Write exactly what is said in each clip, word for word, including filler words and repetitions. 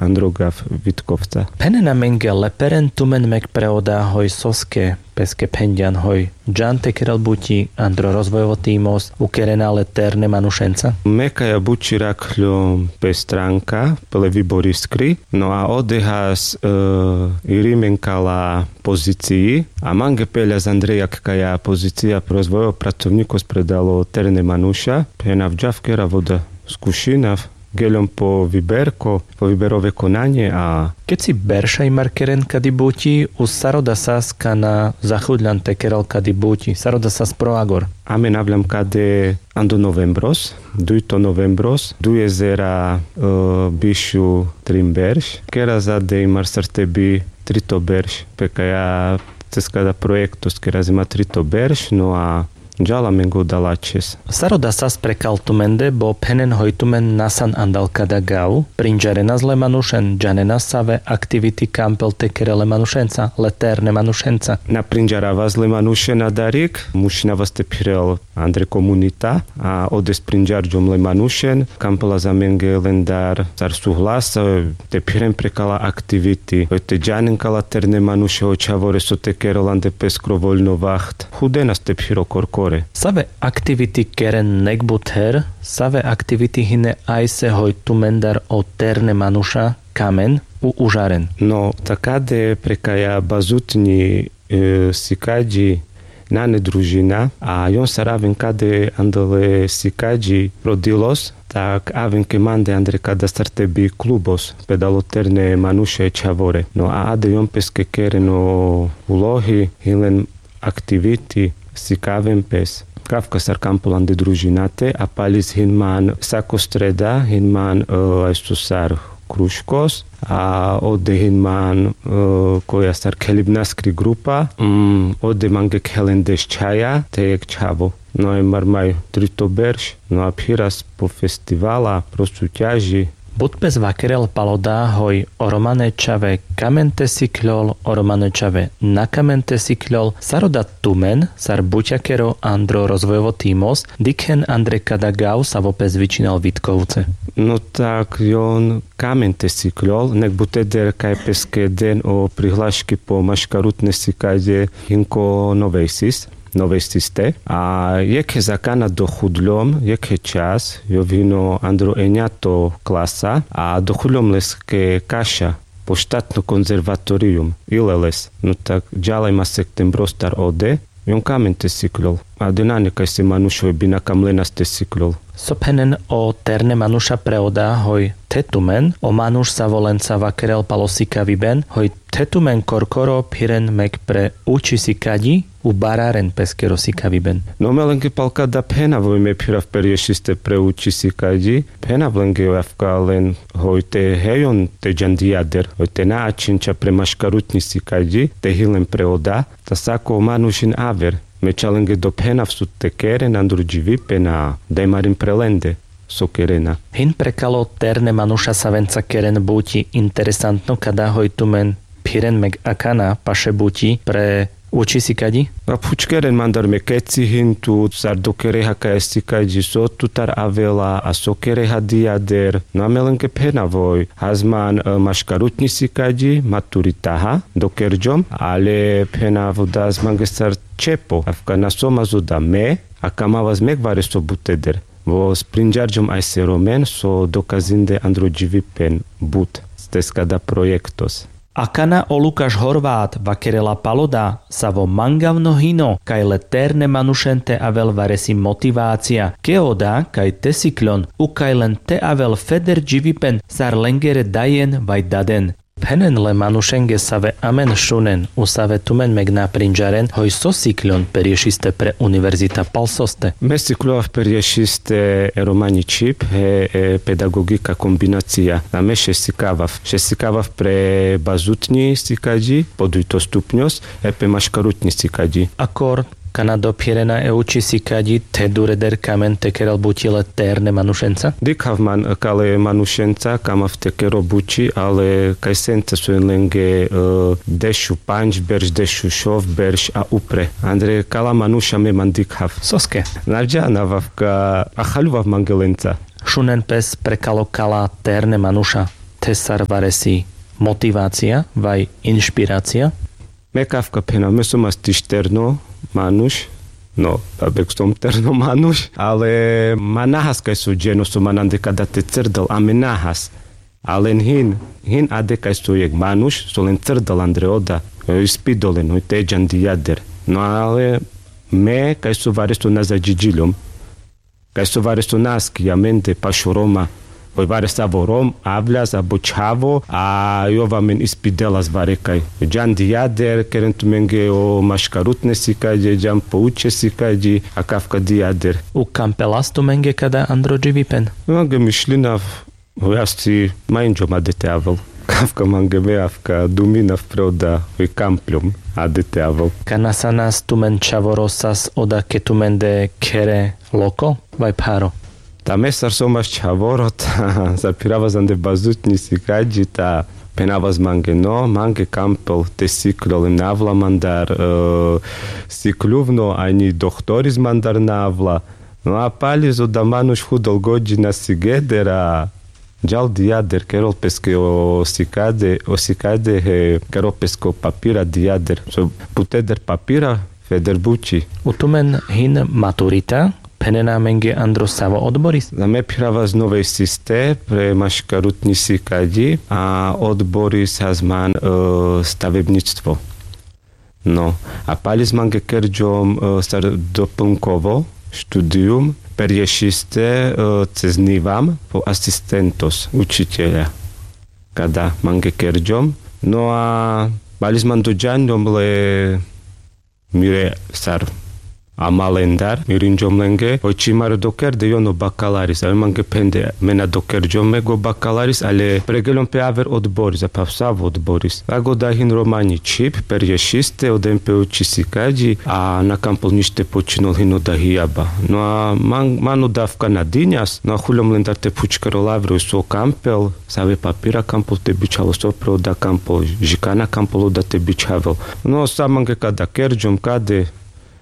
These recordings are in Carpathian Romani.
Andro gav vitkovca. Phenena menge le peren tumen mek pre oda hoj soske, peske phenďan hoj džan te kerel buti andro rozvojovo timos, ukerena le terne manušenca? Me kaja buti rakhľom pe stranka, pe le vibor iskri. No a odehas irimen kala pozicii a mange peľa zandrejak kaja pozicija pro rozvojovo pracovnikos predalo terne manuša. Phenav džav kerav oda, skušinav, geľom po viberko, po viberove konanie a. Keci berša imar keren kadi buti, u saroda sas kana zahudľan te kerel kadi buti saroda sas pro agor? Amen avľam kade ando novembros, dujto novembros dujezera bišu trin berš. Kera zade imar sar te bi trito berš pe kaja ceska da projektos kera zima trito berš no a džala mengo dalačes. Saroda sas prekal tumende bo phenen hoj tumen nasan andal kada gav, prinđarenas le manušen, džanenas save aktiviti kampel te kerel le manušenca, le terne manušenca? Na prinđaravas le manušen adarik, mušinavas te phirel andre komunita a odes prinđarđom le manušen. Kampela zamenge lendar sar suhlas te phiren prekala aktiviti, te džanen kala terne manuše o čhavore so te kerel ande peskro voljno vaht. Hudenas te phiro korkore. Save aktiviti keren nek but her? Save aktiviti hine ajse hoj tumendar o terne manuša kamen u užaren? No takade prekaja bazutnji sikadji nane družina a jon sar aven kade andale sikadji prodilos tak aven ke mande andre kada sar te bi klubos pedalo terne manuše e čhavore. No a ade jon peske keren o ulohi, hilen aktiviti, sikaven pes. Kavka sar kampel ande družinate a palis hin man sako streda hin man ajso sar kruškos a ode hin man koja sar khelibnaskri grupa. Ode mange khelen deš čhaja te jek čhavo. No e mar maj trito berš no a phiras po festivala pro sutjaži. But pes vakerel palo da hoj o romane čhave kamen te sikljol, o romane čhave na kamen te sikljol. Saroda tumen sar butjakero andro rozvojovo timos dikhen andre kada gav savo pes vičinal vitkovce? No tak jon kamen te sikljol nek buteder kaj peske den o prihlaški po maškarutne sikadje hin ko novejsis novejsiste. A jekhe zakana dohudljom jekhe čas jovino andro enjato klasa a dohudljom leske kaša po štatno konzervatorijum ileles. No tak džala ima sektembrostar ode. Jon kamen te sikljol. A de nane kajse manuš hoj bina kamlenas te sikljol. So phenen o terne manuša pre oda hoj the tumen o manuš savo lenca vakerel palo sikaviben hoj the tumen korkoro phiren mek pre uči sikadji u bararen peskero sikaviben? No me lenge palka da phenav hoj me phirav perješiste pre uči sikadji. Phenav lenge hoj avka len hoj te hejon te džan dijader hoj te na ačhenča pre maškarutnji sikadji te hilen pre oda. Ta sako manuš hin aver. Me čalenge do phenav so te keren andro dživipen a daj marin pre lende so kerena. Hin prekalo terne manuša savenca keren buti interesantno kada hoj tumen phiren meg akana paše buti pre uči sikadji? A phučkeren mandar me keci hin tu sar do kereha kaja sikadji so tutar avela a so kereha dijader. No a me lenge phenav hoj hazman maškarutnji sikadji maturitaha do kerđom ale phenav da zmangestar čepo avka na so mazo da me a kamavas mek vareso buteder. Vo sprinđarđom ajse romen so dokazinde andro dživipen but. Steska da projektos. Akana o lukaš horvat vakerela palo da savo mangavno hino kaj le terne manušen te avel varesi motivacija ke oda kaj te sikljon u kaj len te avel feder dživipen sar lengere dajen vaj daden. Phenen le manušenge save amen šunen u save tumen meg na prinđaren hoj so sikljon perješiste pre univerzita pal soste? Me siklovav perješiste e romanji čhib he e pedagogika kombinacija. A me šesikavav šesikavav pre bazutnji sikadji po dujto stupnjos e pe maškarutnji sikadji. Akor kana dophirena e uči sikadji the dureder kamen te kerel buti le terne manušenca? Dikhav man kale manušenca kamav te kero buti ale kajsenca so jen lenge dešupanđ berš dešušov berš a upre andre kala manuša me man dikhav. Soske? Na džanav avka. Ahaljuvav mange lenca. Šunen pes prekalo kala terne manuša. Te sar varesi motivacija vaj inšpiracija? Me kafka phenav me som as tiš terno manuš. No, babek som terno manuš, ale ma nahas kaj so dženo so manande kada te crdal a me nahas. Alen hin hin ade kaj so jek manuš so len crdal andre oda, ispidolen hoj te džan dijader. No ale me kaj so vareso na zadžiđiljom, kaj so vareso na askija mende pašo roma, hoj varesavo rom avljas abo čhavo a jov amen ispidelas varekaj. Džan dijader keren tumenge o maškarutne sikadje džan po učesikađi a kafka dijader. U kampelas tumenge kada andro dživipen? Mange mišlinav, hoj asi ma inđom ade te avel. Kafka mange me avka duminav pre oda hoj kampljom ade te avel. Kana sanas tumen čhavoro sas oda ke tumende khere loko vaj pharo? Ta me sar som as čhavoro ta sar phirava zande bazutnji sikadji ta phenava s mange no mange kampel te siklol em na avla mandar sikluvno anji dohtoris mandar na avla. No a pali so da manuš hudol godžina sigeder a džal dijader kerol peske o sikade o sikade he kerol peske o papira dijader so puteder papira feder buči. U tumen hin maturita phenena amenge andro savo odboris? Na me phirava s novej siste pre maškarutnji sikadji a odboris hazman stavebnjičstvo. No, a pali s mange kerđom sar doplnkovo študijum perješiste cez nivam po asistentos učitelja. Kada mange kerđom no a pali s man dođanđom le mire sar amalendar mirinđom lenge hoj čimare dokerde jon o bakalaris a mange phende me na dokerđom me go bakalaris ale pregeljom pe aver odboris a phav savo odboris a go da hin romanji čhib perješiste oden pe uči sikadji a na kampol nište počinol hin o da hijaba. No a man o da avka na dinjas no a huljom lendar te phučkerol aver hoj so kampel save papira kampol te bičhavel so pre o da kampol žikana kampol o da te bičhavel. No sa mange kada kerđom kade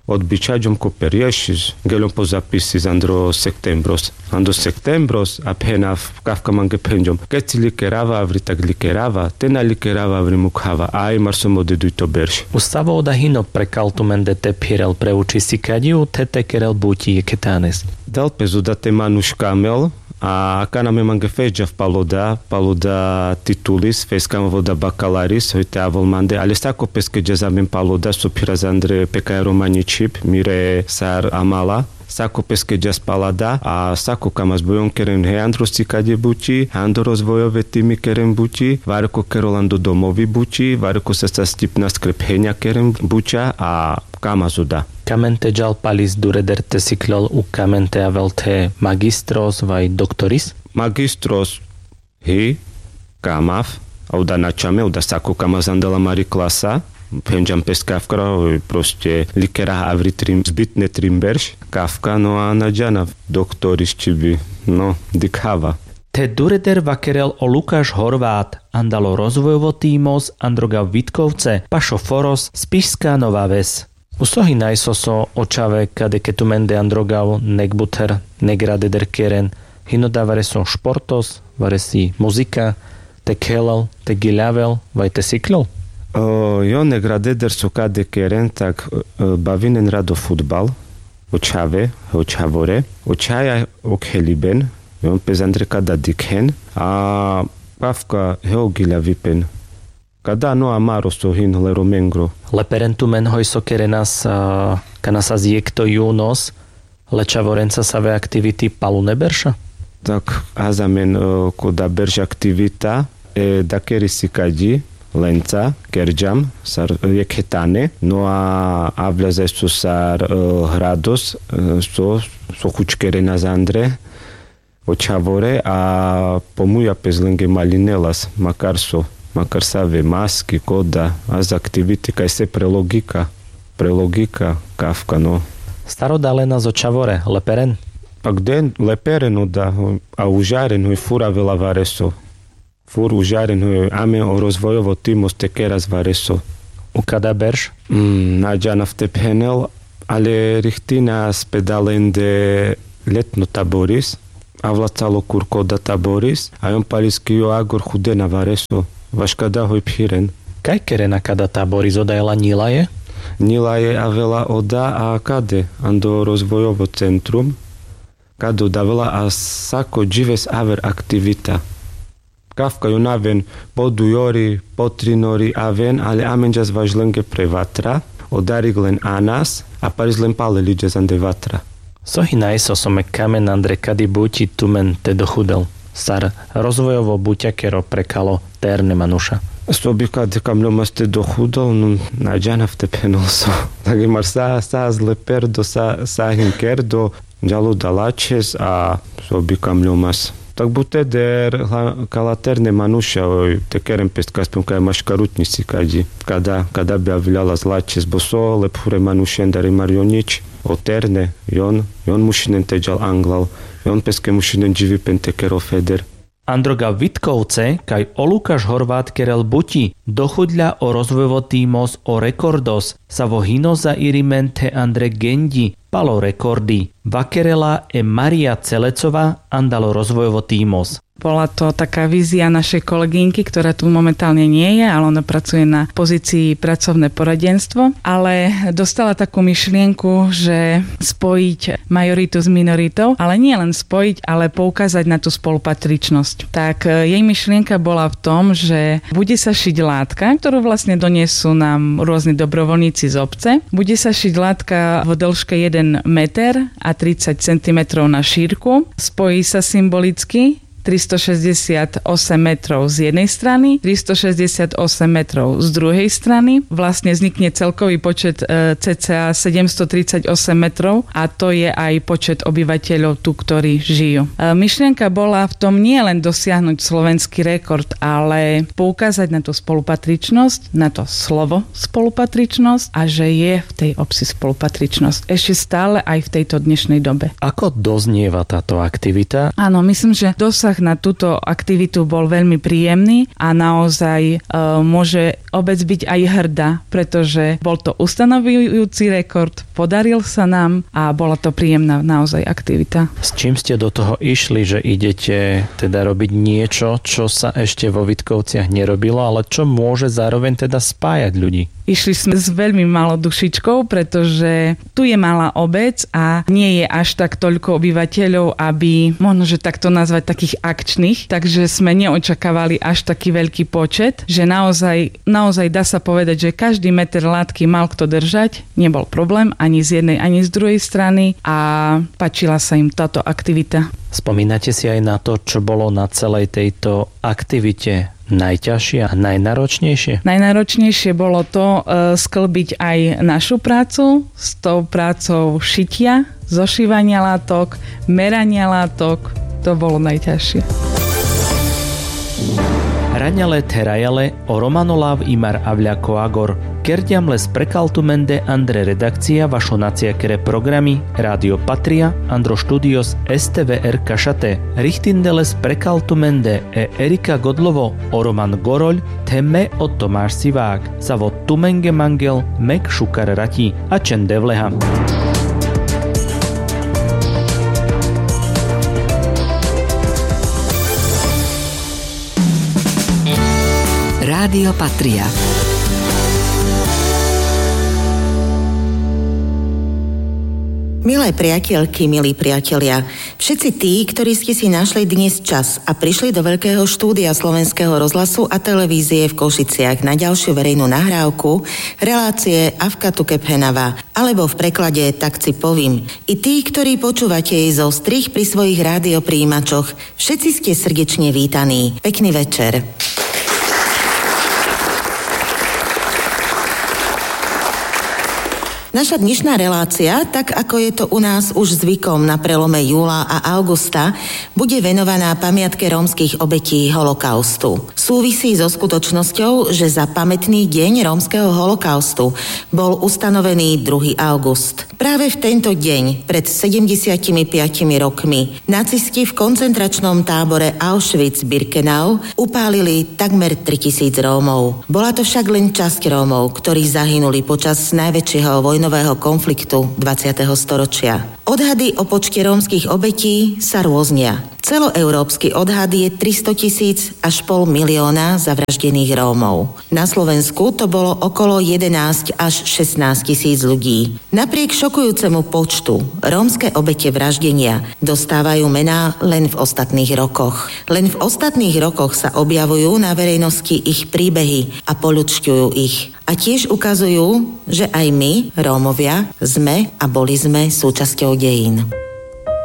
odbičhađom ko perješis geljom po zapisis andro sektembros andro sektembros a phenav kafka mange phenđom keci likerava avri tak likerava te na likerava avri mukhava a imar so mo dedujto berš. U savo o da hino prekal tumende te phirel pre uči sikadji u te te kerel buti jeketanes? Dal pe zoda te manuš kamel a kana me mange fezđav pal o da pal o da titulis fez kamav o da bakalaris hoj te avol mande ale sako peske džas amen pal o da so phiras andre pekaja romanji čhib mire sar amala. Sako peske džas pal a da a sako kamas bojon keren he andro sikadje buči he andro rozvojove timi keren buči vareko kerol ando domovi buči vareko sasa stipnas krephenja keren buča a kamas o da. Kamen te džal palis dureder te siklol u kamen te avel the magistros vaj doktoris? Magistros hi kamav a u da na čame u da sako kamas andala mari klasa. Phenđam pes kafka proste likerav avri trim zbitne trim berš kafka no a na džanav doktoris čibi. No dikhava. Te dureder vakerel o lukaš horvat andalo rozvojovo timos androgav vitkovce pašo foros spišska nova ves. U so hinaj so so o čhave kade ke tumende androgav nek buther nek radeder keren hino da vareso športos varesi muzika te khelal te giljavel vaj te siklol? Jo nek radeder so kade keren tak bavinen rado futbal. O čhave o čhavore o čhaja o kheliben. Jon pes andre kada dikhen a kafka he o giljavipen. Kada no amaro so hin hle romengro. Leperen tumen hoj so kerenas kana sas jekto junos le čhavorenca save aktiviti palune berša? Tak azamen ko da berš aktivita e da keri sikadji lenca kerđam sar jekhe tane no a avlja zaj so sar hrados so so hučkerena zandre o čhavore a po muja pes lenge malinelas makar so makar save maski koda az aktiviti kaj se pre logika pre logika kafka no. Sar odalena zo čhavore leperen? Pak den leperen oda a užaren hoj fur avela vareso. Fur užaren hoj amen o rozvojovo timos te keras vareso. U kada berš? Na džanav te phenel ale rihtina spedalende letno taboris. Avlacalo kurko o data boris a jon paliský jo agor chudena vareso. Vaš kada hoj phiren? Kaj kerena kada ta boris odajla njilaje? Njilaje avela oda a kade ando rozvojovo centrum, kade odavela a sako džives aver aktivita. Kavka jon aven po dujori po trinori aven ale amenđas važlenge pre vatra, odarig len anas a parizlen paleliđas ande vatra. So hinajiso so mek kamen andre kadi buti tumen te dochudel sar rozvojovo buťakero prekalo terne manuša? So bi kade kamľomas te dochudel nun, na džanav te phenol so. Tak i mar sa sa zle perdo sa sa hin kerdo. Džal oda lačhes a so bi kamľomas. Tak bute der kala terne manuša oj te keren pes kaspem kaj maškarutnji si kaďi, kada kada bi avilalas lačhes bo so le phure manušen dar i mar jon nič. O terne jon jon mušinen te džal anglal, jon peske mušinen dživipen te kerol feder. Androga vitkovce kaj o lukaš horvat kerel buti dochudľa o rozvojovo timos o rekordos savo hino zairimen the andre genďi palo rekordi. Vakerela e maria celecova andalo rozvojovo timos. Bola to taká vízia našej kolegynky ktorá tu momentálne nie je, ale ona pracuje na pozícii pracovné poradenstvo, ale dostala takú myšlienku, že spojiť majoritu s minoritou, ale nie len spojiť, ale poukázať na tú spolupatričnosť. Tak jej myšlienka bola v tom, že bude sa šiť látka, ktorú vlastne donesú nám rôzni dobrovoľníci z obce. Bude sa šiť látka v dlžke jeden meter a tridsať centimetrov na šírku. Spojí sa symbolicky tristošesťdesiatosem metrov z jednej strany, tristošesťdesiatosem metrov z druhej strany. Vlastne vznikne celkový počet cca sedemstotridsaťosem metrov a to je aj počet obyvateľov tu ktorí žijú. Myšlienka bola v tom nielen dosiahnuť slovenský rekord, ale poukázať na tú spolupatričnosť, na to slovo spolupatričnosť a že je v tej obci spolupatričnosť ešte stále aj v tejto dnešnej dobe. Ako doznieva táto aktivita? Áno, myslím, že dosah na túto aktivitu bol veľmi príjemný a naozaj môže obec byť aj hrdá, preto že bol to ustanovujúci rekord, podaril sa nám a bola to príjemná naozaj aktivita. S čím ste do toho išli, že idete teda robiť niečo, čo sa ešte vo Vitkovciach nerobilo, ale čo môže zároveň teda spájať ľudí? Išli sme s veľmi malou dušičkou, preto že tu je malá obec a nie je až tak toľko obyvateľov, aby možno že takto nazvať takých akčných, tak že sme neočakávali až taký veľký počet, že naozaj naozaj dá sa povedať, že každý meter látky mal kto držať, nebol problém ani z jednej ani z druhej strany a páčila sa im táto aktivita. Spomínate si aj na to, čo bolo na celej tejto aktivite najťažšie a najnáročnejšie? Najnáročnejšie bolo to sklbiť aj našu prácu s tou prácou šitia, zošívania látok, merania látok. To bolo najťažšie. Raňale therajale o romano lav imar avľa koagor. Kerďam le sprekaltumende andre redakcia vašo naciakere programi, rádio patria andro štúdios, stvr kašate. Richtinde le sprekaltumende e erika godlovo o roman goroľ, the me o tomáš sivák. Savo tumenge mangel mek šukar rati. Ačen devleha. Rádio patria. Milé priateľky, milí priatelia, Všetci tí, ktorý ste si našli dnes čas a prišli do Vlkého štúdia Slovenského rozhlasu a televízie v Košiciach na ďalšiu verejnú nahrávku relácie Avka tu kephenava alebo v preklade Tak ci povím, i tí, ktorí počúvate jej zo strich pri svojich rádioprijímačoch, všetci ste srdečne vítaní. Pekný večer. Naša dnešná relácia, tak ako je to u nás už zvykom na prelome júla a augusta, bude venovaná pamiatke rómskych obetí holokaustu. Súvisí so skutočnosťou, že za pamätný deň rómskeho holokaustu bol ustanovený druhý august. Práve v tento deň pred sedemdesiatimi piatimi rokmi nacisti v koncentračnom tábore Auschwitz-Birkenau upálili takmer tritisíc Rómov. Bola to však len časť Rómov, ktorí zahynuli počas najväčšieho vojnového nového konfliktu dvadsiateho storočia. Odhady o počte rómskych obetí sa rôznia. Celoeurópsky odhad je tristo tisíc až pol milióna zavraždených Rómov. Na Slovensku to bolo okolo jedenásť až šestnásť tisíc ľudí. Napriek šokujúcemu počtu, rómske obete vraždenia dostávajú mená len v ostatných rokoch. Len v ostatných rokoch sa objavujú na verejnosti ich príbehy a poľučťujú ich. A tiež ukazujú, že aj my, Rómovia, sme a boli sme súčasťou dejín.